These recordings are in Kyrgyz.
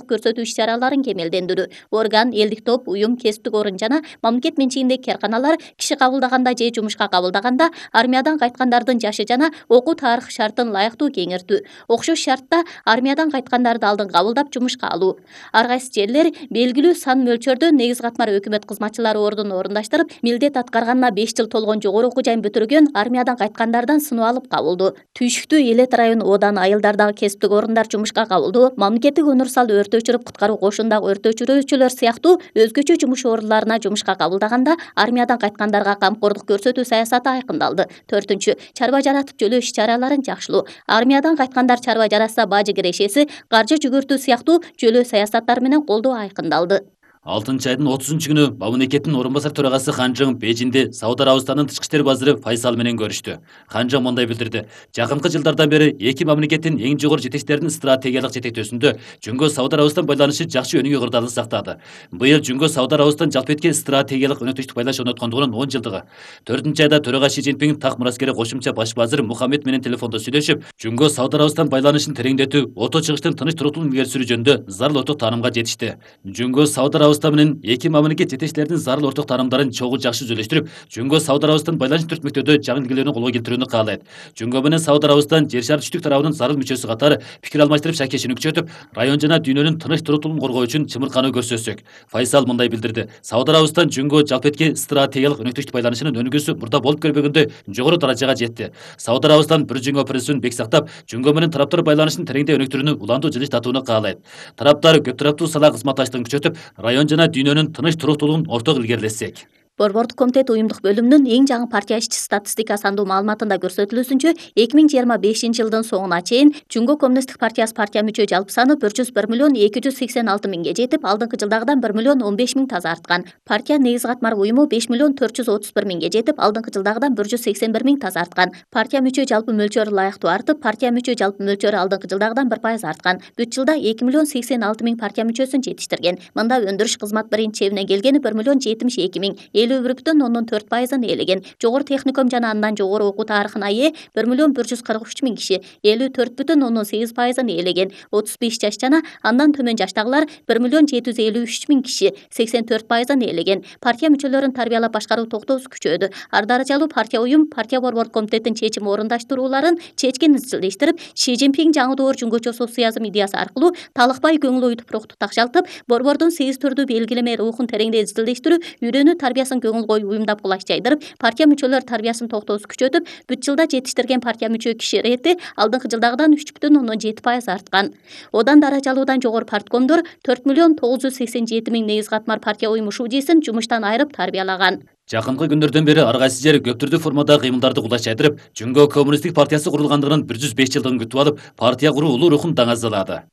көрсөтүү иш-чараларын кемелдендирүү, орган, элдик топ, уюм, кесиптик орун жана мамлекет менчигиндеги кээрканалар киши кабылдаганда же жумушка кабылдаганда армиядан кайткандардын жашы жана окуу тарыхы шартын ылайыктуу кеңиртүү, окшош шартта армиядан кайткандарды алдын кабылдап жумушка алуу. Ар кайсы жерлер белгилүү сан мөлчөрдө негиз катмар өкмөт кызматчылары ордун орундаштырып, милдет аткарганына 5 жыл толгон жогору окуу жайын бүтүргөн армиядан кайткандардан сыноо алып кабылдоо. Түйшүктүү Элет район одан айылдардагы кесиптик орундар жумушка кабылдоо, мамлекеттик универсал өрт өчүрүп куткаруу кошундагы өрт өчүрүүчүлөр сыяктуу өзгөчө жумуш орундуларына жумушка кабылдаганда армиядан кайткандарга камкордук көрсөтүү саясаты айкындалды. 4. Чарба жаратып жөлөө иш-чараларын жакшылоо. Армиядан кайткандар чарба жаратса бажы кирешеси, каржы жүгүртүү сыяктуу жөлөө саясаттар менен колдоо айкындалды. 6-айдын 30-күнү мамлекеттин орун басар төрагасы Ханжың Бейжинде Сауд Арабистанынын тышкы иштер базыры Файсал менен көрүштү. Ханжың мындай билдирди: жакынкы жылдардан бери эки мамлекеттин эң жогору жетекчилеринин стратегиялык жетектөөсүндө Жүнгө Сауд Арабистан байланышы жакшы өнүгүү кырдаалын сактады. Быйыл Жүнгө Сауд Арабистан жалпы эткен стратегиялык өнөктүктүк байланыш орноткондугунун 10 жылдыгы. 4-айда төрага Ши Цзиньпин так мураскери кошумча баш базыр Мухаммед менен телефондо сүйлөшүп, Жүнгө Сауд Арабистан байланышын тереңдетүү, ото чыгыштын тыныч туруктуулугун илгери сүрүү жөнүндө зарыл орток таанымга жетишти. Жүнгө Сауд Арабистан менен эки мамлекет жетекчилеринин зарыл орток таанымдарын чогуу жакшы үзүлүштүрүп, Жүнгө Сауд Арабистан байланыш түртмөктөдө жаңы илгерүүлөрүн колго келтирүүнү каалайт. Жүнгө менен Сауд Арабистан жер шары түштүк тарабынын зарыл мүчөсү катары пикир алмаштырып шакешин күчөтүп, район жана дүйнөнүн тыныч туруктуулугун коргоо үчүн чымыркануу көрсөтсөк. Файсал мындай билдирди: Сауд Арабистан Жүнгө жалпы этки стратегиялык өнөктүктүк байланышынын өнүгүүсү мурда болуп көрбөгөндөй жогору даражага жетти. Сауд Арабистан бир Жүнгө принцибин бек сактап, Жүнгө менен тараптар байланышын тереңдей өнүктүрүүнү улантуу жылыштатууну каалайт. Тараптар көп тараптуу сала кызматташтыгын күчөтүп, район жана дүйнөнүн тыныч туруктуулугун орток илгерилетсек. Борбордук комитет уюмдук бөлүмүнүн эң жаңы партия ишчи статистика сандуу маалыматында көрсөтүлүүсүнчө 2025 жылдын соңуна чейин Жүнгө коммунисттик партиясы партия мүчө жалпы саны 101.286.000ге жетип, алдыңкы жылдагыдан 1.015.000 таза арткан. Партия негиз катмар уюму 5.431.000ге жетип, алдыңкы жылдагыдан 181.000 таза арткан. Партия мүчө жалпы мөлчөрү ылайыктуу артып, партия мүчө жалпы мөлчөрү алдыңкы жылдагыдан 1% арткан. Бүт жылда 2.086.000 партия мүчөсүн жетиштирген. Мында өндүрүш кызмат биринчи чебине келгени 1.072.000. 50,4% ээлеген. Жогору техникум жана андан жогору окуу тарыхына ээ 1.143.000 киши 54,8% ээлеген. 35 жаш жана андан төмөн жаштагылар 1.753.000 киши 84% ээлеген. Партия мүчөлөрүн тарбиялап башкаруу токтоосу күчөдү. Ар даражалуу партия уюм партия борбордук комитеттин чечим орундаштырууларын чечкен изилдештирип, Ши Цзиньпин жаңы доор жүнгөчө социализм идеясы аркылуу талыкпай көңүл оюутуп рухту такшалтып, борбордун 8 түрдүү белгилеме рухун тереңдей изилдештирүү, үйрөнүү тарбиясын көңүл коюп уюмдап кулаш жайдырып, партия мүчөлөр тарбиясын токтоосу күчөтүп, бүт жылда жетиштирген партия мүчө киши рети алдыңкы жылдагыдан 3.7% арткан. Одан даражалуудан жогору парткомдор 4.987.000 негиз катмар партия уюму шудийсин жумуштан айырып тарбиялаган. Жакынкы күндөрдөн бери ар кайсы жер көп түрдүү формадагы кыймылдарды кулаш жайдырып, Жүнгө коммунисттик партиясы курулгандыгынын 105 жылдыгын күтүп алып, партия куруу улуу рухун даңазалады.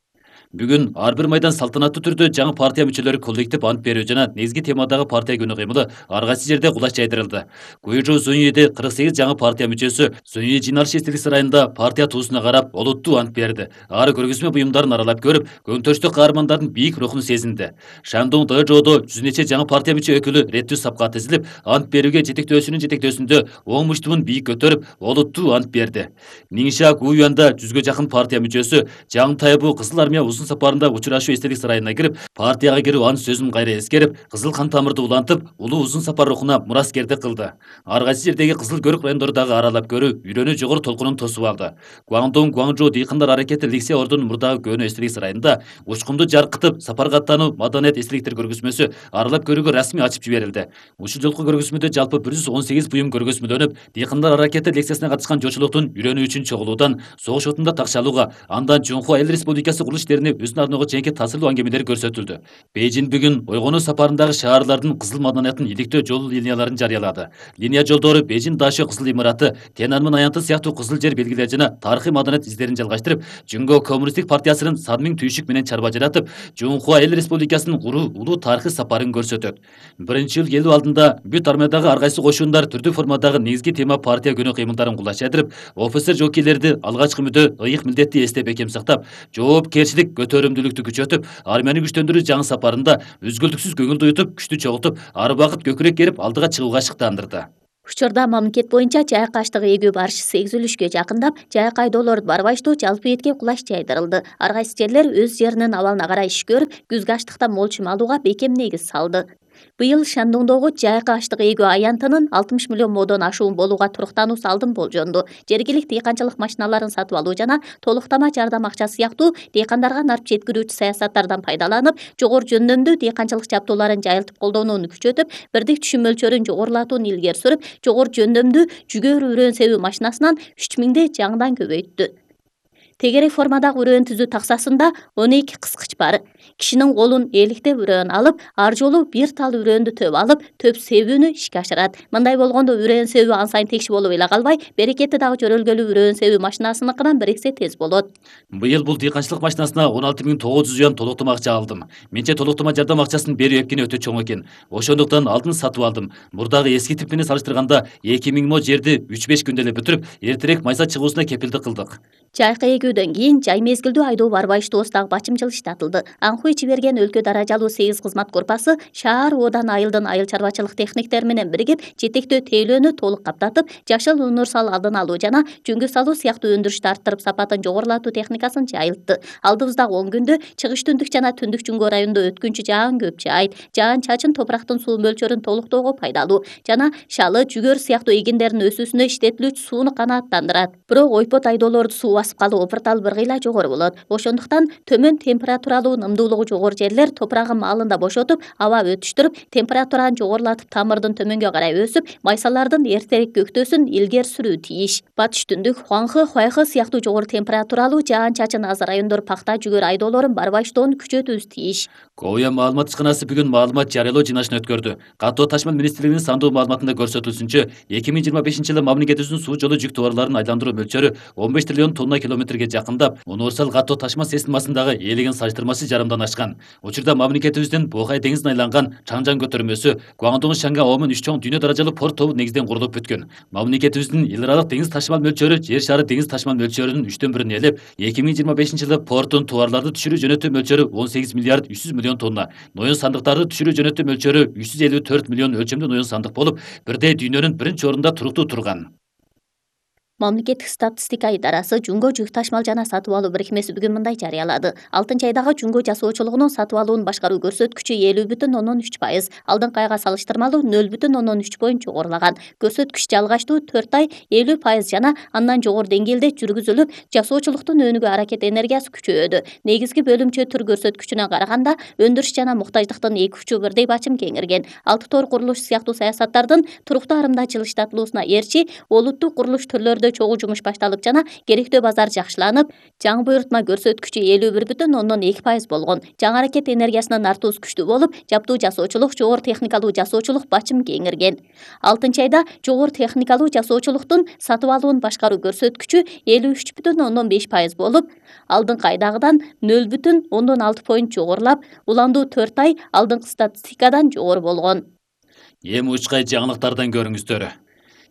Бүгүн ар бир майдан салтанаттуу түрдө жаңы партия мүчөлөрү коллектив ант берүү жана негизги темадагы партия күнү кыймылы ар кайсы жерде кулаш жайдырылды. Куйжу Зуньеде 48 жаңы партия мүчөсү Зунье жыйналыш эстелик сарайында партия туусуна карап олуттуу ант берди. Ар көргөзмө буюмдарын аралап көрүп, көңтөрүштүү каармандардын бийик рухун сезинди. Шандун Дэжодо жүз нече жаңы партия мүчө өкүлү реттүү сапка тизилип, ант берүүгө жетектөөсүнүн жетектөөсүндө оң муштумун бийик көтөрүп, олуттуу ант берди. Ниңша Гуюанда 100гө жакын партия мүчөсү Жаң Тайбу Кызыл армия сапарында учурашуу эстелик сарайына кирип, партияга кирүү ант сөзүн кайра эскерип, кызыл кан тамырды улантып, улуу узун сапар рухуна мураскердик кылды. Ар кайсы жердеги кызыл көрүк райондорду дагы аралап көрүү, үйрөнүү жогору толкунун тосуп алды. Гуандун Гуанчжоу дыйкандар аракети Ликсе ордунун мурдагы көөнө эстелик сарайында учкунду жаркытып, сапарга аттануу маданият эстеликтер көргөзмөсү аралап көрүүгө расмий ачып жиберилди. Ушул жолку көргөзмөдө жалпы 118 буюм көргөзмөлөнүп, дыйкандар аракети лекциясына катышкан жолчулуктун үйрөнүү үчүн чогулуудан, согуш отунда такшалууга, андан Жунхуа эл республикасы курулуш иштерине өзүнүн арноого чейинки таасирлүү аңгемелери көрсөтүлдү. Бейжин бүгүн ойгонуу сапарындагы шаарлардын кызыл маданиятын иликтөө жол линияларын жарыялады. Линия жолдору Бейжин Дашо кызыл имараты, Тенанмын аянты сыяктуу кызыл жер белгилери жана тарыхый маданият издерин жалгаштырып, Жүнгө коммунисттик партиясынын Садмиң түйшүк менен чарба жаратып, Жунхуа эл республикасынын куруу улуу тарыхый сапарын көрсөтөт. Биринчи жыл келүү алдында бүт армиядагы ар кайсы кошундар түрдүү формадагы негизги тема партия күнү кыймылдарын кулаш жайдырып, офицер жокейлерди алгачкы мүдө, ыйык милдетти эстеп бекем сактап, жоопкерчилик, көтөрүмдүүлүктү күчөтүп, армияны күчтөндүрүү жаңы сапарында үзгүлтүксүз көңүлдү уютуп, күчтү чогултуп, ар убакыт көкүрөк керип алдыга чыгууга шыктандырды. Учурда мамлекет боюнча жайыкка аштык эгүү барышчысы эгзилүшкө жакындап, жайык айдоолорду барбаштуу жалпы этке кулаш жайдырылды. Ар кайсы жерлер өз жеринин абалына карай иш көрүп, күзгү аштыктан молчум алууга бекем негиз салды. Быйыл Шандоңдогу жайыкка аштык эгүү аянтынын 60 миллион модон ашуун болууга туруктануусу алдын болжонду. Жергиликтүү дыйканчылык машиналарын сатып алуу жана толуктама жардам акчасы сыяктуу дыйкандарга нарп жеткирүүчү саясаттардан пайдаланып, жогору жөндөмдүү дыйканчылык жабдууларын жайылтып колдонууну күчөтүп, бирдик түшүм мөлчөрүн жогорулатууну илгери сүрүп, жогору жөндөмдүү жүгөрү үрөөн себүү машинасынан 3000 жаңыдан көбөйттү. Тегерек формадагы үрөөн түзүү таксасында 12 кыскыч бар. Кишинин колун эликтеп үрөөн алып, ар жолу бир тал үрөөндү төп алып, төп себүүнү ишке ашырат. Мындай болгондо үрөөн себүү ан сайын текши болуп эле калбай, берекети дагы жөрөлгөлүү үрөөн себүү машинасыныкынан 1 эсе тез болот. Быйыл бул дыйканчылык машинасына 16900 юан толуктама акча алдым. Менче толуктама жардам акчасын берүү эпкени өтө чоң экен. Ошондуктан алдын сатып алдым. Мурдагы эски тип менен салыштырганда 2000 мо жерди 3-5 күндө эле бүтүрүп, эртерээк майса чыгуусуна кепилдик кылдык. Жайкы эгүүдөн кийин жай мезгилдүү айдоо барбайыштоосундагы бачым жылыштатылды. Аңкуу ичи берген өлкө даражалуу 8 кызмат корпусу шаар оодан айылдын айыл чарбачылык техниктери менен биригип, жетектөө тейлөөнү толук каптатып, жашыл универсал алдын алуу жана жөнгө салуу сыяктуу өндүрүштү арттырып, сапатын жогорулатуу техникасын жайылтты. Алдыбыздагы 10 күндө чыгыш түндүк жана түндүк Жүнгө районунда өткүнчү жаан көп жаайт. Жаан-чачын топурактын суу мөлчөрүн толуктоого пайдалуу жана шалы, жүгөр сыяктуу эгиндердин өсүүсүнө иштетилүүчү сууну канааттандырат. Бирок ойпот айдоолорду суу басып калуу опуртал бир кыйла жогору болот. Ошондуктан төмөн температуралуу нымдуулугу жогору жерлер топурагын маалында бошотуп, аба өтүштүрүп, температураны жогорулатып, тамырдын төмөнгө карай өсүп, майсалардын эртерээк көктөсүн илгери сүрүү тийиш. Батыш түндүк, Хуанхэ, Хуайхэ сыяктуу жогору температуралуу жаан-чачын аз райондор пахта, жүгөр айдоолорун барбайыштоону күчөтүүбүз тийиш. Коя маалымат ишканасы бүгүн маалымат жарыялоо жыйналышын өткөрдү. Катуу ташмал министрлигинин сандуу маалыматында көрсөтүлүшүнчө, 2025-жылы мамлекетибиздин суу жолу жүк товарларын айландыруу мөлчөрү 15 триллион тонна километрге жакындап, универсал катуу ташма системасындагы ээлеген салыштырмасы жарымдан ашкан. Учурда мамлекетибиздин Бохай деңизине айланган Чаңжан көтөрмөсү, Гуандун Шанга Омен 3 чоң дүйнө даражалуу порт тобу негизден курулуп бүткөн. Мамлекетибиздин эл аралык деңиз ташмал мөлчөрү жер шары деңиз ташмал мөлчөрүнүн 3/1 ээлеп, 2025-жылы порттун товарларды түшүрүү жөнөтүү мөлчөрү 18 миллиард 300 миллион тонна, ноён сандыктарды түшүрүү жөнөтүү мөлчөрү 354 миллион өлчөмдүү ноён сандык болуп, бирдей дүйнөнүн биринчи орунда туруктуу турган. Мамлекеттик статистика идарасы Жүнгө жүк ташмал жана сатып алуу бирикмеси бүгүн мындай жарыялады. 6-айдагы Жүнгө жасоочулугунун сатып алуун башкаруу көрсөткүчү 50,3%, алдыңкы айга салыштырмалуу 0,3 жогорулаган. Көрсөткүч жалгачтуу 4 ай 50% жана андан жогору деңгээлде жүргүзүлүп, жасоочулуктун өнүгүү аракет энергиясы күчөдү. Негизги бөлүмчө тур көрсөткүчүнө караганда өндүрүш жана муктаждыктын эки учу бирдей бачым кеңирген. 6 тор курулуш сыяктуу саясаттардын туруктуу арымдачыл иштатылуусуна ээрчи, олуттук курулуш түрлөрү чогуу жумуш башталып жана керектөө базар жакшыланып, жаңы буйрутма көрсөткүчү 51,2% болгон. Жаңы аракет энергиясынын артуусу күчтүү болуп, жаптуу жасоочулук, жогору техникалуу жасоочулук бачым кеңирген. 6-айда жогору техникалуу жасоочулуктун сатып алуун башкаруу көрсөткүчү 53,5% болуп, алдыңкы айдагыдан 0,6 поинт жогорулап, уландуу 4 ай алдыңкы статистикадан жогору болгон. Эми учкай жаңылыктардан көрүңүздөр.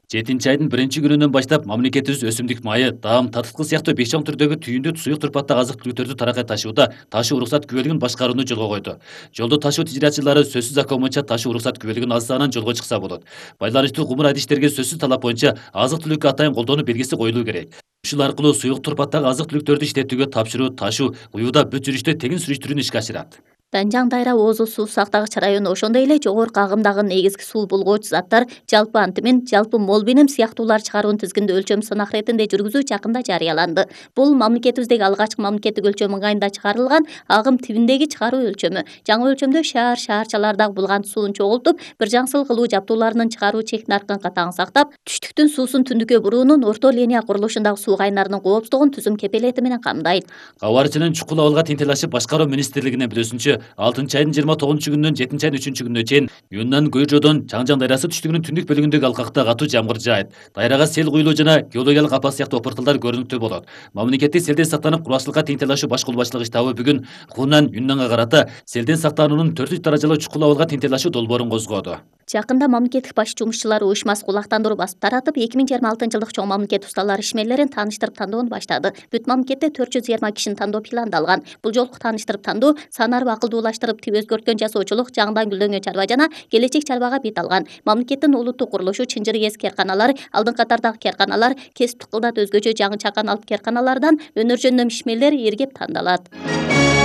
7-айдын 1-күнүнөн баштап мамлекетибиз өсүмдүк майы, даам, татыткы сыяктуу 5 чоң түрдөгү түйүндү суюк турпаттагы азык-түлүктөрдү таракай ташууда ташуу уруксат күбөлүгүн башкарууну жолго койду. Жолдо ташуу тижираатчылары сөзсүз закон боюнча ташуу уруксат күбөлүгүн алсаанан жолго чыкса болот. Байланыштуу кумур айдиштерге сөзсүз талап боюнча азык-түлүккө атайын колдонуу белгиси коюлуу керек. Ушул аркылуу суюк турпаттагы азык-түлүктөрдү иштетүүгө тапшыруу, ташуу, уюуда бүт жүрүштө тегин сүрүштүрүүнү ишке ашырат. Данжаң Дайра Оозу суу сактагыч району ошондой эле жогорку агымдагы негизги суу булгоочу заттар жалпы антимин, жалпы мол бенем сыяктуулар чыгаруунун тизгинде өлчөм сынак иретинде жүргүзүү жакында жарыяланды. Бул мамлекетибиздеги алгачкы мамлекеттик өлчөм ыңгайында чыгарылган агым тибиндеги чыгаруу өлчөмү. Жаңы өлчөмдө шаарчалардагы булгант суун чогултуп, бир жаңсыл кылуу жабдууларынын чыгаруу чек наркын катаң сактап, түштүктүн суусун түндүккө буруунун орто линия курулушундагы суу кайнарынын коопсуздугун түзүм кепелети менен камдайт. Кабарчынын чукул абалга тентелашып башкаруу министрлигинин билүүсүнчө, 6-айдын 29-күнүнөн 7-айдын 3-күнүнө чейин Юннан Гуйжодон Чаңжан дайрасы түштүгүнүн түндүк бөлүгүндөгү алкакта катуу жамгыр жаайт. Дайрага сел куюлуу жана геологиялык апат сыяктуу опурталдар көрүнүктүү болот. Мамлекеттик селден сактанып кургакчылыкка теңтелашуу баш колбачылыгы штабы бүгүн Хунан Юннанга карата селден сактануунун 4 даражалуу чукул абалга теңтелашуу долбоорун козгоду. Жакында мамлекеттик баш жумушчулар уюшмасы кулактандыруу басып таратып, 2026 жылдык чоң мамлекет усталар ишмерлерин тааныштырып тандоону баштады. Бүт мамлекетте 420 кишини тандоо пландалган. Бул жолку тааныштырып тандоо санарып акылдуулаштырып өзгөрткөн жасоочулук, жаңыдан гүлдөнгөн чарба жана келечек чарбага бет алган. Мамлекеттин улуттук курулушу чынжыр эски керканалар, алдыңкы катардагы керканалар, кесиптик кылдат өзгөчө жаңы чакан алып керканалардан өнөр жөндөм ишмерлер эргеп тандалат.